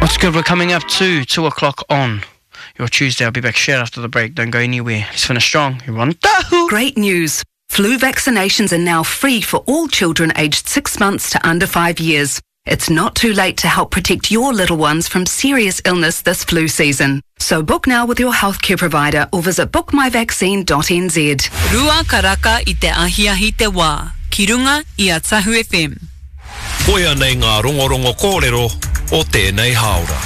What's good? We're coming up to 2 o'clock on your Tuesday. I'll be back straight after the break. Don't go anywhere. Let's finish strong. You're on Tahu. Great news. Flu vaccinations are now free for all children aged 6 months to under 5 years. It's not too late to help protect your little ones from serious illness this flu season. So book now with your healthcare provider or visit bookmyvaccine.nz. Rua karaka i te ahiahi te wā, ki runga i a Tahu FM. Koia nei ngā rongorongo kōrero o tēnei hāora.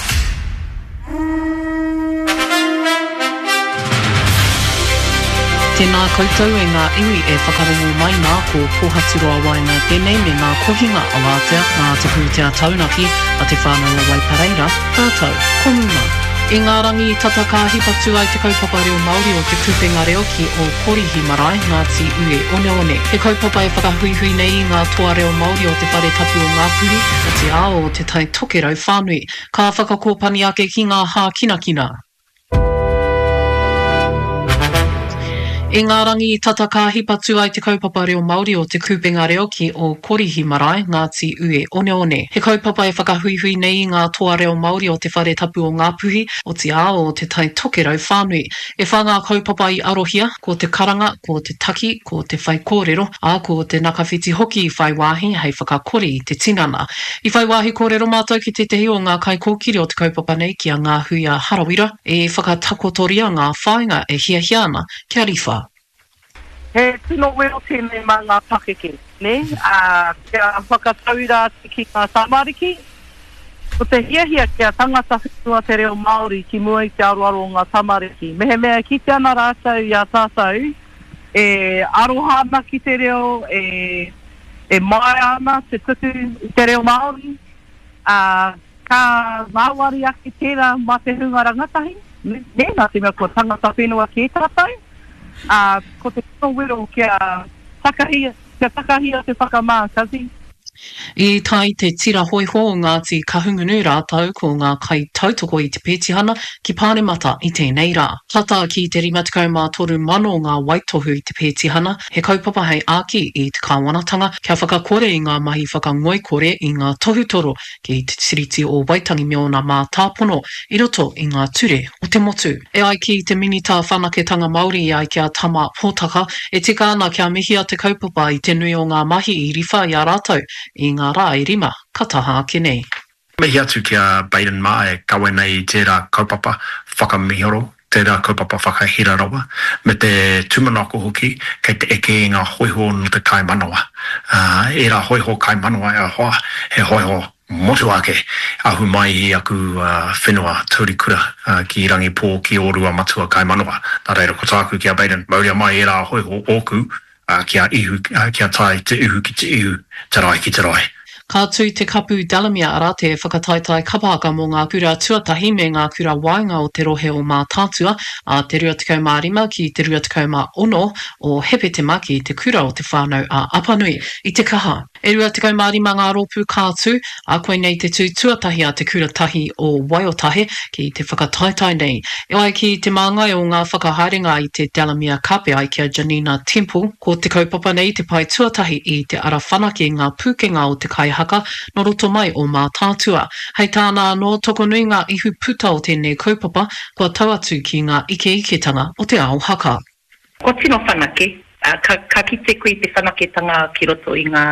Tēnā koutou e ngā iwi e whakarongo mai nā, ko Pōhaturoa Waena tēnei me ngā kohinga awatea nā te pūtea taunaki a Te Whānau o Waipareira, rātou ko Muma. I ngā rangi tata ka hipa tū ai te kaupapa reo Māori o Te Kupenga Reo ki Ōkorihi Marae, Ngāti Ue Oneone. He kaupapa e whakahuihui nei i ngā toa reo Māori o Te Whare Tapu o Ngāpuhi, otirā o Te Tai Tokerau whānui. Ka whakakōpani ake ki ngā hākinakina. I ngā rangi tata ka hipa tū ai te kaupapa reo Māori o Te Kupenga Reo ki Ōkorihi Marae, Ngāti Ue Oneone. He kaupapa e whakahuihui nei i ngā toa reo Māori o Te Whare Tapu o Ngāpuhi, otirā o Te Tai Tokerau whānui. E wha ngā kaupapa i arohia, ko te karanga, ko te taki, ko te whaikōrero, ā, ko te nakawhiti hoki i whai wāhi hei whakakori i te tinana. I whai wāhi kōrero mātou ki tētehi o ngā kaikōkiri o te kaupapa nei ki a Ngāhuia Harawira, i whakatakotoria ngā whāinga e hiahia ana kia riwha. He tino wero tēnei mā ngā pakeke, nē, ā, kia whakatauira atu ki ngā tamariki. Ko te hiahia kia tangata whenua te reo Māori ki mua i te aroaro o ngā tamariki. Mehemea e kite ana rātou i a tātou e aroha ana ki te reo, e, e māia ana te tuku i te reo Māori, ā, ka ngāwari ake tērā mā te hunga rangatahi, nē, nā te mea kua tangata whenua kē tātou, ā, ko te tino wero kia takahia, kia takahia te whakamā, Cuzzy. I tae te tira hōiho o Ngāti Kahungunu rātou ko ngā kaitautoko i te pētihana ki Pāremata i tēnei rā. Tata ki te 53,000 ngā waitohu i te pētihana, he kaupapa hei āki i te kāwanatanga kia whakakore i ngā mahi whakangoikore i ngā tohutoro ki te Tiriti o Waitangi me ōna mātāpono i roto i ngā ture o te motu. E ai ki te Minita Whanaketanga Māori e ai ki a Tama Potaka, e tika ana kia mihia te kaupapa i te nui o ngā mahi i riwha i a rātou i ngā rā e rima ka taha ake nei. Mihi atu ki a Baden mā e kawe nei i tērā kaupapa whakamiharo, tērā kaupapa whakahira rawa, me te tūmanako hoki kei te eke i ngā hōiho nō te kaimanawa. Ā, ērā hōiho kaimanawa e hoa, he hōiho motuhake, ahu mai i aku whenua taurikura ki Rangipō, ki Ōruamatua kaimanawa. Nā reira, ko tāku ki a Baden, mauria mai ērā hōiho ōku, Ā, ki a Ihu, ā, kia tae te ihu ki te ihu, te rae ki te rae. Ka tū te Kapu Delamere, arā, te whakataetae kapa haka mō ngā kura tuatahi me ngā kura waenga o te rohe o Mātaatua, ā te 25 ki te 26 o Hepetema ki Te Kura o Te Whānau a Apanui i Te Kaha. E 25 ngā rōpū ka tū, ā, koinei te tū tuatahi a Te Kura Tahi o Waiotahe ki te whakataetae nei. E ai ki te māngai o ngā whakahaerenga i te Delamere Cup e ai ki a Janina Temple, ko te kaupapa nei te pae tuatahi i te ara whanake ngā pūkenga o te kaihaka nō roto mai o Mātaatua. Hei tāna anō, tokonui ngā ihu puta o tēnei kaupapa kua tau atu ki ngā ikeiketanga o te ao haka. Kua tino whanake, ā, ka, ka kite koe i te whanaketanga ki roto i ngā,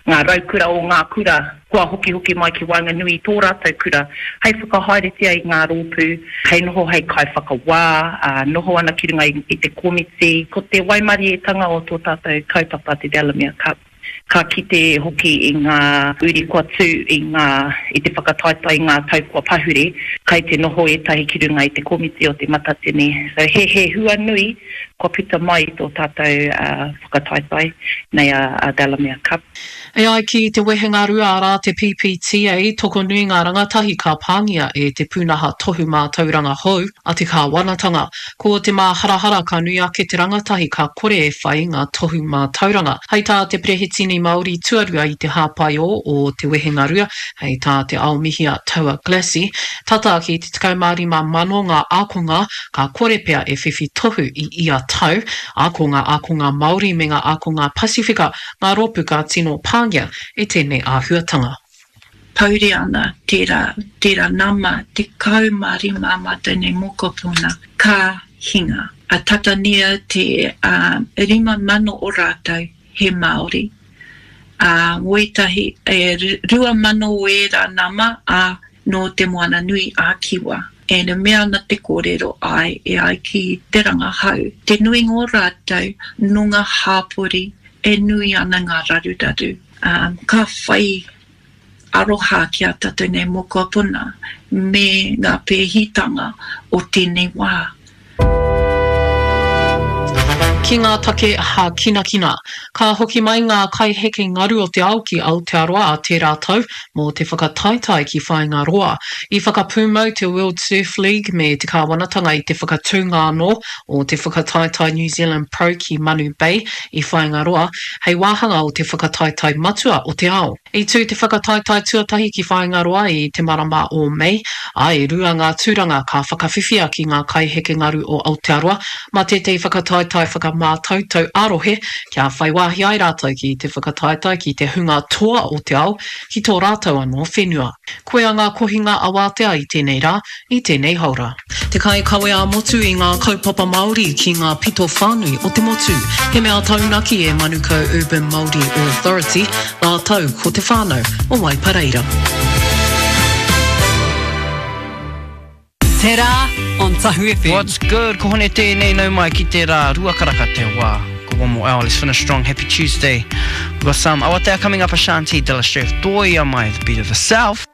ngā raukura o ngā kura kua hokihoki mai ki waenganui i tō rātou kura hei whakahaeretia i ngā rōpū, hei noho hei kaiwhakawā, ā, noho ana ki runga i, i te komiti. Ko te waimarietanga o tō tātou kaupapa te Delamere Cup, Ka kite hoki i ngā uri kua tū i ngā, i te whakataetae i ngā tau kua pahure, kai te noho ētahi ki runga i te komiti o Te Matatini. So he, he hua nui kua puta mai i tō tātou whakataetae nei a, a Delamere Cup. E ai ki te wehenga rua arā te PPTA, tokonui ngā rangatahi ka pāngia e te pūnaha tohu mātauranga hou a te kāwanatanga. Ko te māharahara ka nui ake te rangatahi ka kore e whai ngā tohu mātauranga. Hei tā te Perehitini Māori tuarua i te hāpaiō o te wehengarua, hei tā Te Aomihia Taua Glassey, tata ki te 15,000 ngā ākonga ka kore pea e whiwhi tohu i ia tau, ā, ko ngā ākonga Māori me ngā ākonga Pasifika ngā rōpū ka tino pāngia e tēnei āhuatanga. Pouri ana tērā, tērā nama, 15 ā mātou nei mokopuna ka hinga. A tata near te 5,000 o rātou he Māori, ā, wētahi, e 2,000 o ērā nama, ā, nō Te Moana Nui a Kiwa. And e mea ana te kōrero, āe, e ai ki te rangahau, te nuinga o rātou nō ngā hāpori e nui ana ngā raruraru, ā, ka whai aroha ki a tātou nei mokopuna me ngā pēhitanga o tēnei wā. Ki ngā take hākinakina. Ka hoki mai ngā kaiheke ngaru o te ao ki Aotearoa ā tērā tau mō te whakataetae ki Whāingaroa. I whakapūmau te World Surf League me te kāwanatanga i te whakatūnga anō o te whakataetae New Zealand Pro ki Manu Bay i Whāingaroa hei wāhanga o te whakataetae matua o te ao. I tū te whakataetae tuatahi ki Whāingaroa i te marama o Mei, ā, e rua ngā tūranga ka whakawhiwhia ki ngā kaiheke ngaru o Aotearoa mā tētahi whakataetae whakamātautau ā-rohe kia whai wāhi ai rātou ki te whakataetae ki te hunga toa o te ao ki tō rātou anō whenua. Koia ngā kohinga awātea i tēnei rā, i tēnei haora. Te kaikawe ā-motu i ngā kaupapa Māori ki ngā pito whānui o te motu. He mea taunaki e Manukau Urban Māori Authority rātou ko te whānau o Waipareira. Te Rā on Tahu FM. What's good? Ko Hone tēnei, nau mai ki te rā, Ruakaraka te wā. Ko one more hour, let's finish strong, happy Tuesday. We've got some Awatea coming up, Ashanti, De La Streff, Toia mai, the beat of the South.